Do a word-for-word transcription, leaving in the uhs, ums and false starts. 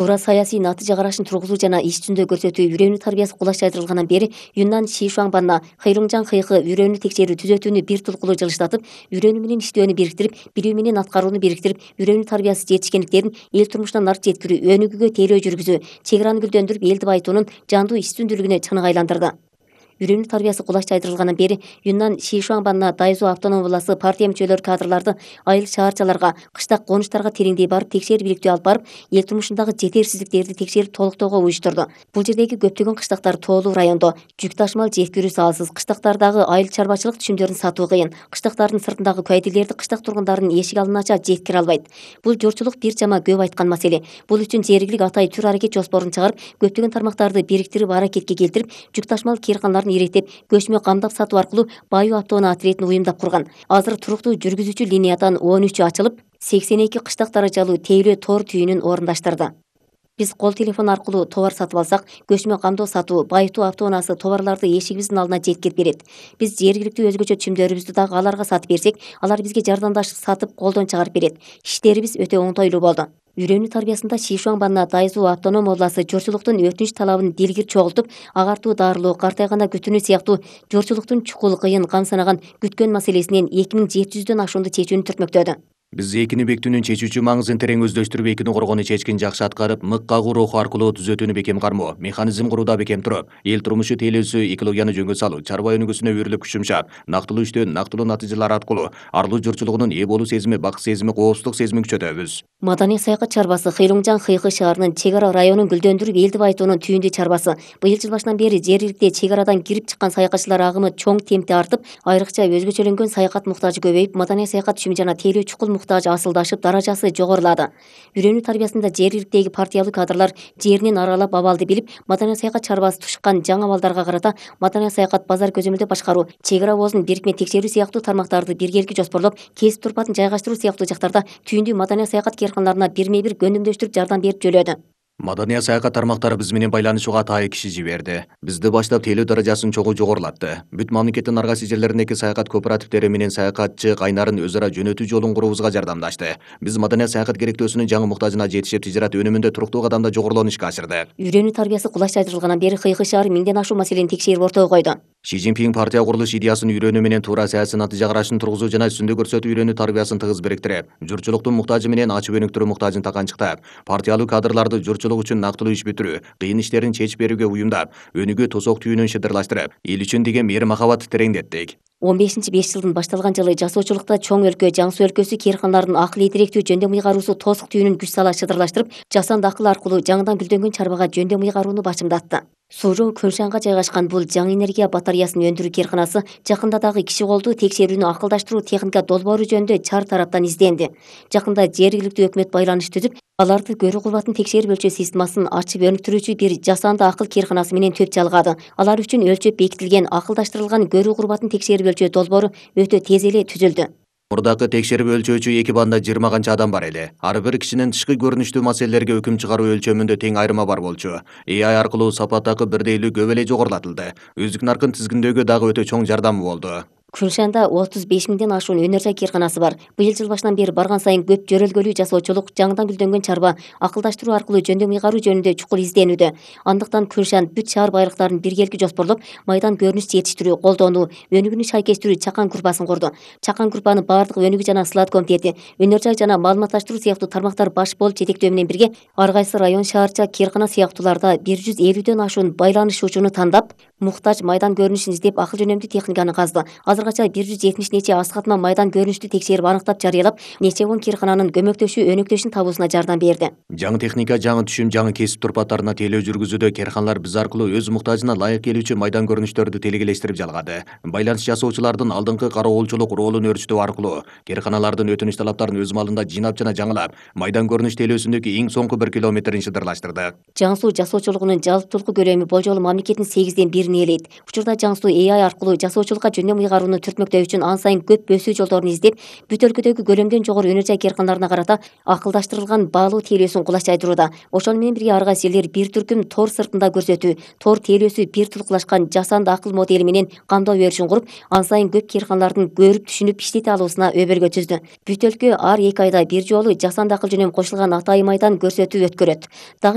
Туура саясий натыйжа карашын тургузуу жана иш жүзүндө көрсөтүү үйрөнүү тарбиясы кулаш жайдырылгандан бери Юннан Шишуаңбанна Хэйлуңжан Хэйхы үйрөнүү текшерүү түзөтүүнү бир тулкулуу жылыштатып, үйрөнүү менен иштөөнү бириктирип, билүү менен аткарууну бириктирип, үйрөнүү тарбиясы жетишкендиктерин эл турмушуна нарт жеткирүү, өнүгүүгө тейлөө жүргүзүү, чек араны гүлдөндүрүп, элди байытуунун жандуу иш жүзүндүүлүгүнө чынык айландырды. Үйрөнүү тарбиясы кулаш жайдырылгандан бери Юннан Шишуаңбанна Дайзу автоном областы партия мүчөлөрү кадрларды айыл шаарчаларга, кыштак конуштарга тереңдей барып, текшер бириктөө алып барып, эл турмушундагы жетерсиздиктерди текшерип толуктоого уюштурду. Бул жердеги көптөгөн кыштактар тоолуу райондо, жүк ташымал жеткирүү салсыз, кыштактардагы айыл чарбачылык түшүмдөрүн сатуу кыйын, кыштактардын сыртындагы кайдилерди кыштак тургундарынын эшик алдын ача жеткире албайт. Бул журтчулук бир чама көп айткан маселе. Бул үчүн жергилик атай түр аракет жоспорун чыгарып, көптөгөн тармактарды бириктирип, аракетке келтирип, жүк ташымал кээрканаларын иреттеп, көчмө камдап сатуу аркылуу Баю автоунаа отрядын уюмдап курган. Азыр туруктуу жүргүзүүчү линиядан он үчү ачылып, сексен эки кыштак даражалуу тейлөө тоор түйүнүн орундаштырды. Биз кол телефон аркылуу товар сатып алсак, көчмө камдоо сатуу, байытуу автоунаасы товарларды эшигибиздин алдына жеткирип берет. Биз жергиликтүү өзгөчө түшүмдөрүбүздү дагы аларга сатып берсек, алар бизге жардамдашып сатып колдон чыгарып берет. Иштерибиз өтө оңтойлуу болду. Үйрөнүү тарбиясында Шишуаңбанна Дайзу автоном областы журтчулуктун өтүнүч талабын дилгир чогултуп, агартуу дарылоо, картайганда күтүүнү сыяктуу журтчулуктун чукул, кыйын, камсынаган күткөн маселесинен эки миң жети жүздөн ашуунду чечүүнү түртмөктөдү. Биз экини бекитүүнүн чечүүчү маңызын терең өздөштүрүп, экини коргоону чечкин жакшы аткарып, мык кагуу руху аркылуу түзөтүүнү бекем кармоо, механизм курууда бекем туруп, эл турмушу тейлөөсү, экологияны жөнгө салуу, чарба өнүгүүсүнө өрүлүп күч жумшап, нактылуу иштөө, нактылуу натыйжалар аркылуу арлуу журтчулугунун ээ болуу сезими, бакыт сезими, коопсуздук сезимин күчөтөбүз. Маданий саякат чарбасы Хэйлуңжан Хэйхы шаарынын чек ара районун гүлдөндүрүп, элди байытуунун түйүндүү чарбасы. Быйыл жыл башынан бери жергиликте чек арадан кирип чыккан саякатчылар агымы чоң темпте артып, айрыкча өзгөчөлөнгөн саякат муктажы көбөйүп, маданий саякат түшүмү жана тейлөө чукул муктажы асылдашып, даражасы жогорулады. Үйрөнүү тарбиясында жергиликтеги партиялуу кадрлар жеринен аралап, абалды билип, маданий саякат чарбасы тушкан жаңы абалдарга карата маданий саякат базар көзөмөлдөө башкаруу, чек ара обозун бирикме текшерүү сыяктуу тармактарды биргеликке жоспорлоп, кесип турпатын жайгаштыруу сыяктуу жактарда түйүндүү маданий саякат кээрканаларына бирме бир көндүмдөштүрүп жардам берип жөлөдү. Маданий саякат тармактары биз менен байланышууга атайын киши жиберди. Бизди баштап тейлөө даражасын чогуу жогорулатты. Бүт мамлекеттин ар кайсы жерлериндеги саякат кооперативдери менен саякатчы кайнарын өз ара жөнөтүү жолун куруубузга жардамдашты. Биз маданий саякат керектөөсүнүн жаңы муктажына жетишип, тижарат өнүмүндө туруктуу кадамда жогорулоону ишке ашырдык. Үйрөнүү тарбиясы кулаш жайдырылгандан бери Хэйхы шаары миңден ашуун маселени текшерип ортого койду. Ши Цзиньпин партия курулуш идеясын үйрөнүү менен туура саясий натыйжа карашын тургузуу жана үстүндө көрсөтүү үйрөнүү тарбиясын тыгыз бириктирип, журтчулуктун муктажы менен ачып өнүктүрүү муктажын таканчыктап, партиялуу кадрларды журтчулук үчүн нактылуу иш бүтүрүү, кыйын иштерин чечип берүүгө уюмдап, өнүгүү тосок түйүнүн шыдырлаштырып, эл үчүн деген мээри махабатты тереңдеттик. он бешинчи беш жылдын башталган жылы жасоочулукта чоң өлкө, Жаң Суу өлкөсү кээрканаларынын акыл ийгиликтүү жөндөм ыйгаруусу тосук түйүнүн күч сала шыдырлаштырып, жасанды акыл аркылуу жаңыдан гүлдөнгөн чарбага жөндөм ыйгарууну бачымдатты. Суужоо Көншанга жайгашкан бул жаң энергия батареясын өндүрүү кээрканасы жакында дагы киши колдуу текшерүүнү акылдаштыруу техника долбоору жөнүндө чар тараптан изденди. Жакында жергиликтүү өкмөт байланыш түзүп, аларды көрүү кубатын текшерип өлчөө системасын ачып өнүктүрүүчү бир жасанды акыл кээрканасы менен төп жалгады. Алар үчүн өлчөп бекитилген акылдаштырылган көрүү кубатын текшерип өлчөө долбоору өтө тез эле түзүлдү. Мурдакы текшерип өлчөөчү эки банда жыйырма канча адам бар эле. Ар бир кишинин тышкы көрүнүштүү маселелерге өкүм чыгаруу өлчөмүндө тең айырма бар болчу. Э ай аркылуу сапат дагы бирдейлүү көп эле жогорулатылды. Өздүк наркын тизгиндөөгө дагы өтө чоң жардамы болду. Көншанда отуз беш миңден ашуун өнөр жай кээрканасы бар. Быйыл жыл башынан бери барган сайын көп жөрөлгөлүү жасоочулук, жаңыдан гүлдөнгөн чарба, акылдаштыруу аркылуу жөндөм ыйгаруу жөнүндө чукул изденүүдө. Андыктан Көншан бүт шаар байлыктарын биргеликке жоспорлоп, майдан көрүнүш жетиштирүү, колдонуу, өнүгүүнү шайкештирүү чакан группасын курду. Чакан группаны бардык өнүгүү жана сылат комитети, өнөр жай жана маалыматташтыруу сыяктуу тармактар баш болуп жетектөө менен бирге, ар кайсы район, шаарча, кээркана сыяктууларда бир жүз элүүдөн ашуун байланышуучуну тандап, муктаж майдан көрүнүшүн издеп, акыл жөнөмдүү техниканы казды. Азыргача бир жүз жетимиш нече аз катма майдан көрүнүштү текшерип аныктап жарыялап, нече он кээркананын көмөктөшүү, өнөктөшүн табуусуна жардам берди. Жаңы техника, жаңы түшүм, жаңы кесип турпаттарына тейлөө жүргүзүүдө кээрканалар биз аркылуу өз муктажына ылайык келүүчү майдан көрүнүштөрдү телегелештирип жалгады. Байланыш жасоочулардын алдыңкы кароолчулук ролун өөрчүтүү аркылуу кээрканалардын өтүнүч талаптарын өз маалында жыйнап жана жаңылап, майдан көрүнүш тейлөөсүндөгү эң соңку бир километрин шыдырлаштырды. Жаң Суу жасоочулугунун жалптуулук көлөмү болжолу мамлекеттин сегизден бирин ээлейт. Учурда Жаң Суу Э ай аркылуу жасоочулукка жөндөм ыйгарууну түртмөктөө үчүн ан сайын көп өсүү жолдорун издеп, бүт өлкөдөгү көлөмдөн жогору өнөр жай кээрканаларына карата акылдаштырылган баалуу тейлөөсүн кулаш жайдырууда. Ошону менен бирге ар кайсы элдер бир түркүм тор сыртында көрсөтүү, тор тейлөөсү бир тулкулашкан жасанды акыл модели менен камдоо беришин куруп, ан сайын көп кээрканалардын көрүп, түшүнүп, иштете алуусуна өбөлгө түздү. Бүт өлкө ар эки айда бир жолу жасанды акыл жөнөм кошулган атайын майдан көрсөтүү өткөрөт.